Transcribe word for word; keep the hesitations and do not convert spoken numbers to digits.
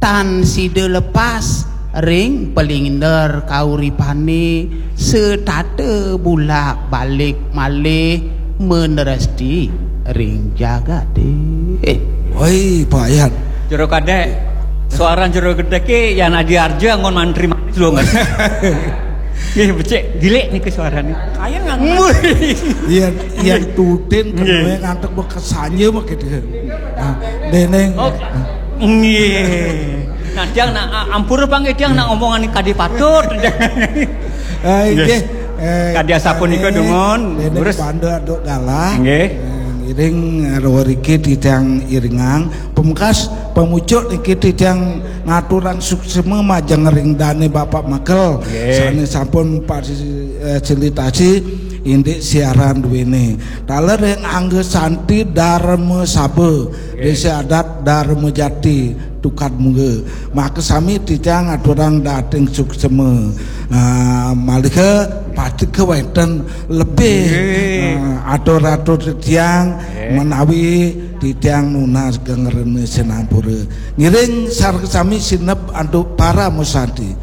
tan sida lepas ring palinder kauripane setata bulak-balik malih meneresti ring jagate. Woi, Pak Yan. Jero Kadek, suaran Jero Gedek ke Yan Adi Arja ngon mantri mati dong. Nggih, becik gilik niki suarane. Ayo nggak Iya, iya tutin kemudian ngantuk bekesanya begitu. Nah, deneng. Oh, nggih. Nah, tiang nak a- ampura pang tiang nak omongan kadi patut. Eh, Nggih. nggih. Eh, Kadi asapunika, eh, Dungun. Deneng Terus? Banda Aduk Galah. Nggih. Eh, iring, eh, riki titiang iringang. Pemungkas pemucuk niki titiang ngaturang suksema majeng ring dane Bapak Makel. Nggih. Sane sampun fasilitasi indik siaran duene. Taler ring Angga Santi Dharma Saba, Desa Adat Dharma Jati, Tukad Mungga. Maka sami titiang aturang dating suksema. Ah, malih ke pati ke wenten lebih, Nggih. ah, atur-atur titiang Nggih. menawi titiang nunas gengrene sinampura. Ngiring sareng sami sinep antuk para musanti.